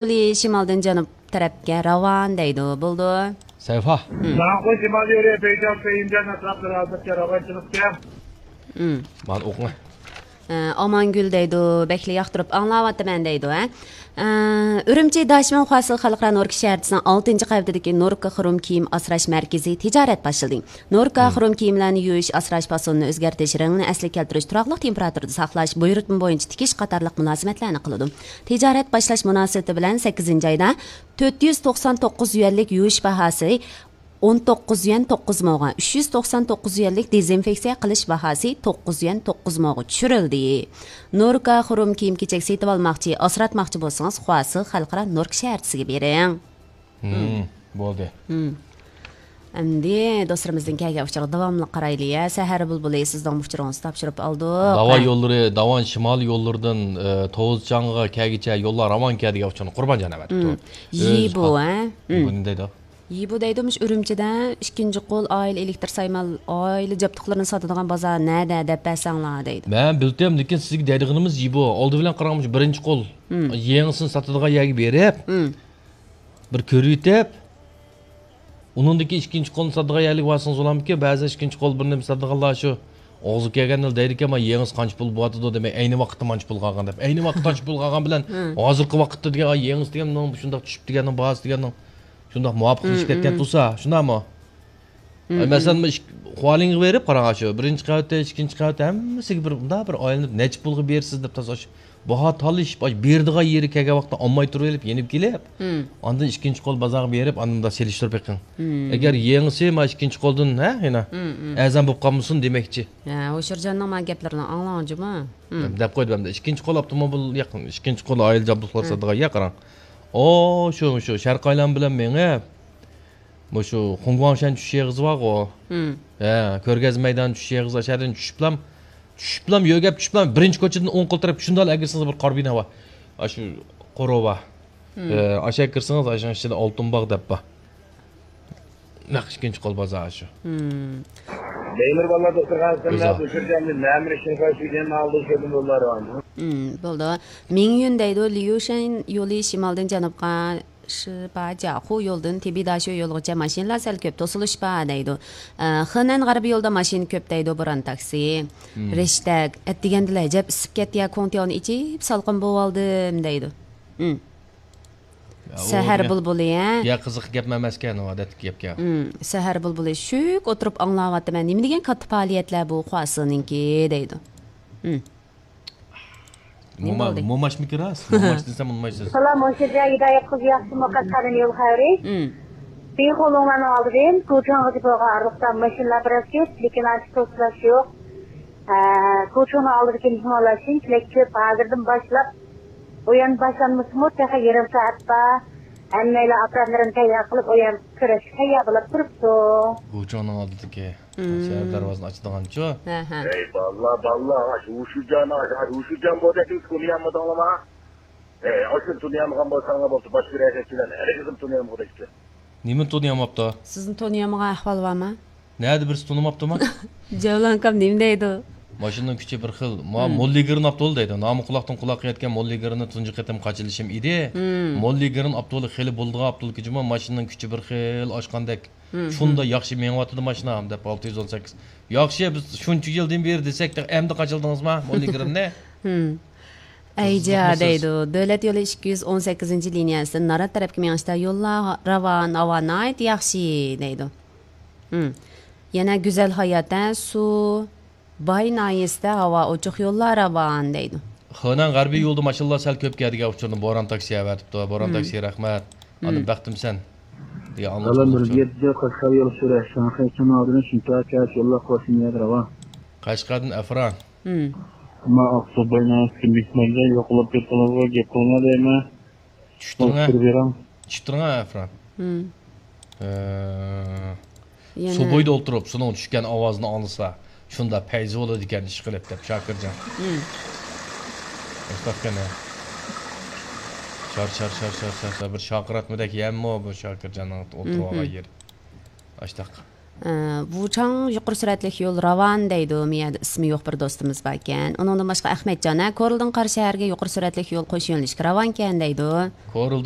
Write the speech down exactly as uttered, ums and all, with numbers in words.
يولى شىمالدىن جەنۇب تەرەپكە راۋان دەيدۇ. بولدى. سەيفا. مم. ماقۇل، شىمال يولى بېيجىڭ، پېيىنجان ئەتراپلىرى ھازىرچە راۋانچىلىقتا. مم. مانا ئوقۇڭ. ئە، ئامانگۈل دەيدۇ، بەكلا ياقتۇرۇپ ئاڭلاۋاتىمەن دەيدۇ، ھە. ئە، ئۈرۈمچى داشىمىن خۇاسى خەلقئارا نوركا شەھەرچىسىنىڭ ئالتىنچى قەۋىتىدىكى نوركا خۇرۇم كىيىم ئاسراش مەركىزى تىجارەت باشلىدى. نوركا مم. خۇرۇم كىيىملەرنى يۇيۇش، ئاسراش پاسونىنى ئۆزگەرتىش، رەڭنى ئەسلىگە كەلتۈرۈش، تۇراقلىق تېمپېراتۇرىدا ساقلاش، بۇيرۇتما بويىچە تىكىش قاتارلىق مۇلازىمەتلەرنى قىلىدۇ. تىجارەت باشلاش مۇناسىۋىتى بىلەن سەككىزىنچى ئايدا تۆت يۈز توقسان توققۇز يۈەنلىك يۇيۇش باھاسى ئون توققۇز يۈەن توققۇز موغا، ئۈچ يۈز توقسان توققۇز يۈەنلىك دېزىنفېكسىيە قىلىش باھاسى توققۇز يۈەن توققۇز موغا چۈشۈرۈلدى. نوركا خۇرۇم كىيىم-كېچەك سېتىۋالماقچى، ئاسراتماقچى بولسىڭىز، خۇاسى خەلقئارا نوركا شەھەرچىسىگە بېرىڭ. مم، بولدى. مم. ئەمدى دوستلىرىمىزدىن كەلگەن ئۇچۇرغا داۋاملىق قارايلى، يە. سەھەر بۇلبۇلى، سىزنىڭ ئۇچۇرىڭىزنى تاپشۇرۇپ ئالدۇق. داۋا ھە. يوللىرى، داۋان شىمالىي يوللىرىدىن، ئە، توۋزچاڭغا كەلگۈچە يوللار راۋانكەن دېگەن ئۇچۇرنى قۇربانجان ئەۋەتىپتۇ. مم. ئۆز يىبۇ، خا-، ھە؟ مم. يىبۇ نېمە دەيدۇ؟ يىبۇ دەيدۇ، مۇشۇ ئۈرۈمچىدە ئىككىنچى قول ئائىلە ئېلېكتىر سايمان ئائىلە جابدۇقلىرىنى ساتىدىغان بازار نەدە دەپ بەرسەڭلار دەيدۇ. مەن بىلدىم، لېكىن سىزگە دەيدىغىنىمىز يىبۇ. ئالدى بىلەن قاراڭ، مۇشۇ بىرىنچى قول مم. يېڭىسىنى ساتىدىغان يەرگە بېرىپ، مم. بىر كۆرۈۋېتىپ، ئۇنىڭدىكى ئىككىنچى قولنى ساتىدىغان يەرلىككە بارسىڭىز بولامدىكىن، بەزى ئىككىنچى قول بىر نېمە ساتىدىغانلار شۇ ئوغۇزغا كەلگەندە دەيدىكەن، مانا يېڭىسى قانچە پۇل بولۇۋاتىدۇ دېمەي، ئەينى ۋاقىتتا مانچە پۇل قالغان دەپ. ئەينى ۋاقىتتا قانچە پۇل قالغان بىلەن ھە. ھازىرقى ۋاقىتتا دېگەن، ئا، يېڭىسى دېگەن، مۇنىڭ شۇنداق چۈشۈپ دېگەننىڭ، باھاسى دېگەننىڭ شۇنداق مۇۋاپىقلىشىپ مم، كەتكەن مم. تۇرسا، شۇنداقمۇ؟ مم، ئە، مەسىلەن، مم. مۇشۇ ئىك-، خۇالىڭغا بېرىپ قاراڭ، شۇ بىرىنچى قەۋەتتە، ئىككىنچى قەۋەتتە ھەممىسىگە بىر، مۇنداق بىر ئايلىنىپ، نەچچە پۇلغا بېرىسىز دەپ تازا شۇ باھا تالىشىپ، ئاي، بېرىدىغان يېرى كەلگەن ۋاقىتتا ئالماي تۇرۇۋېلىپ، يېنىپ كېلىپ، مم. ئاندىن ئىككىنچى قول بازارغا بېرىپ، ئاندىن مۇنداق سېلىشتۇرۇپ بېقىڭ. مم. ئەگەر يېڭىسى ما ئىككىنچى قولدىن، ھە، يەنە مم، مم. ئەرزان بولۇپ قالمىسۇن دېمەكچى. ھە، ھوشۇرجاننىڭ ما گەپلىرىنى ئاڭلاڭ جۇمۇ. مم. دەپ قويدۇم ئەمدى. ئىككىنچى قول ئاپتوموبىل ياق، ئىككىنچى قول ئائىلە جابدۇقلار مم. ساتىدىغان ياق، قاراڭ. ئو، شۇ، شۇ شەرقىي ئايلان بىلەن مېڭىپ، مۇشۇ خۇڭگۇاڭشەن چۈشۈش ئېغىزى بارغۇ. مم. ھە، كۆرگەزمە مەيدان چۈشۈش ئېغىزى، ئاشۇ يەردىن چۈشۈپلام، چۈشۈپلام، يۆگەپ چۈشۈپلام، بىرىنچى كوچىدىن ئوڭ قول تەرەپكە شۇنداقلا ئەگىرسىڭىز بىر قارا بىنا بار. ئاشۇ قورۇ بار. مم. ھە، ئاشۇ يەرگە كىرسىڭىز، ئاشۇنىڭ ئىچىدە ئالتۇن باغ دەپ بار. نەق ئىككىنچى قول بازار شۇ. مم. مەيمۇر بالىلار دوختۇرخانىسىنىڭ ئۆزى. بۇ يەردە نەمر ئىشىنى قويۇپ كەلگەن ئالدى شۇ يوللار بار. مم، بولدى. مىڭيۈن دەيدۇ، ليۇشەن يولى شىمالدىن جەنۇبقا شىباجياخۇ يولىدىن تىبىداشۇ يولىغىچە ماشىنىلار سەل كۆپ، توسۇلۇش بار دەيدۇ. ئە، خېنەن غەربىي يولىدا ماشىنا كۆپ دەيدۇ، بوران تاكسى. مم. رەشتەك، ئەتىگەندىلا ئەجەب ئىسسىپ كەتتى يا، كوڭتياۋنى ئېچىپ سالقىن بوۋالدىم دەيدۇ. مم. يا، ئۇ سەھەر دېگەن بۇلبۇلى، ھە؟ يا قىزىق گەپ ئەمەسكەن، ئۇ ئادەتتىكى گەپكەن. مم، سەھەر بۇلبۇلى، شۈك ئولتۇرۇپ ئاڭلاۋاتىمەن. نېمە دېگەن كاتتا پائالىيەتلەر بۇ خۇاسىنىڭكى دەيدۇ. مم. نېمە موما-، بولدى؟ موماشمىكى راست؟ موماش دېسەم ئۇنىمايسىز. سالام، ھوشۇرجان ھىدايەت قىزى ياخشىمۇ، قەشقەردىن يول خەۋىرى؟ مم. بىخۇلۇڭلارنىڭ ئالدىدىن گۇچۇڭغىچە بولغان ئارىلىقتا ماشىنىلار بىراز كۆپ، لېكىن ئانچە توسۇلۇش يوق. ھە، گۇچۇڭنىڭ ئالدىدىكى مېھمانلار شۇنچىلىك كۆپ، ھازىردىن باشلاپ ئويۇن باشلانمىسىمۇ تېخى يېرىم سائەت بار. ھەممەيلەن ئاپپاراتلىرىنى تەييار قىلىپ، ئويۇن كۆرۈشكە تەييار بولۇپ تۇرۇپتۇ. گۇچۇڭنىڭ ئالدىدىكى مم. شەھەر دەرۋازىنى ئاچىدىغانچۇ؟ ھە، ھە. ئەي باللا، باللا، ئاشۇ ھوشۇجان، ئاشۇ ھوشۇجان بۇ دەكنى تونۇيالمىدىڭلارما؟ ئەي، ئاشۇنى تونۇيالمىغان بولساڭلار بولدى، باشقا رەھەتچىلەرنى ھەرگىزمۇ تونۇيالمىغۇدەكتى. نېمىنى تونۇيالماپتۇ؟ سىزنى تونۇيالمىغان ئەھۋال بارمۇ؟ نەدە بىرسى تونۇماپتۇما؟ جەۋلانكام نېمە دەيدۇ؟ ماشىنىنىڭ كۈچى بىر خىل. ما، مم. موللىگرېن ئاپتولى دەيدۇ. نامى قۇلاقتىن قۇلاققا يەتكەن موللىگرېننى تۇنجى قېتىم قاچىلىشىم ئىدى. مم. موللىگرېن ئاپتولى خېلى بولىدىغان ئاپتول ئىكەن جۇمۇ، ماشىنىنىڭ كۈچى بىر خىل ئاشقاندەك. مم. شۇنداق ياخشى مېڭىۋاتىدۇ ماشىنا، دەپ ئالتە يۈز ئون سەككىز. ياخشى، بىز شۇنچە يىلدىن بېرى دېسەك، تېخى ئەمدى قاچىلىدىڭىزما موللىگرېننى؟ مم. ئەيجا قىزىقمىسىز؟ دەيدۇ. دۆلەت يولى ئىككى يۈز ئون سەككىزىنچى لىنىيەسىدىن نارات تەرەپكە مېڭىشتا يوللار راۋان، ھاۋا ناھايىتى ياخشى دەيدۇ. مم. يەنە گۈزەل ھايات، ھە، سۇ باي ناھىيەسىدە ھاۋا ئوچۇق، يوللار راۋان دەيدۇ. خېنەن غەربىي يولدا ماشىنىلار سەل كۆپ كەلدىگەن ئۇچۇرنى بوران تاكسى ئەۋەتىپتۇ. بوران مم. تاكسى، رەھمەت. ئاندىن مم. بەختىمسەن دېگەن سالام، بىر ئاڭلىتىش ئۇچۇرى. يەتتە قەشقەر يول سۈرە، شاڭخەي شىمالىدىن شىنتاي كەش يوللار قوشۇن يەر راۋان. قەشقەردىن ئەفران. مم. ئەمما ئاقسۇ بايناسىدىكى مېھماندا يوقىلاپ كەتكىنىڭىزغا گەپ قىلما دەيمەن. چۈشتۈرۈڭە. ئولتۇرۇپ بېرىڭ. چۈشتۈرۈڭە، ئەفران. مم. ئە، يەنە سۇ بويىدا ئولتۇرۇپ، سۇنىڭ چۈشكەن ئاۋازىنى ئاڭلىسا، شۇنداق پەيزى بولىدىكەن، ئىشقىلىپ، دەپ، شاكىرجان. مم. مۇشتاقكەن، ھە. شار، شار، شار، شار، شار، شار. بىر شارقىراتمىدەك يەممۇ بۇ شاكىرجاننىڭ ئولتۇرۇۋالغان مم. يېرى. ئاشتاق. ئە، ۋۇچاڭ يۇقىرى سۈرئەتلىك يول راۋان دەيدۇ، مۇ يەردە ئىسمى يوق بىر دوستىمىز باركەن. ئۇنىڭدىن باشقا ئەخمەتجان، ھە، كورلىدىن قاراشەھەرگە يۇقىرى سۈرئەتلىك يول قوش يۆنىلىشلىك راۋانكەن دەيدۇ. كورلىدىن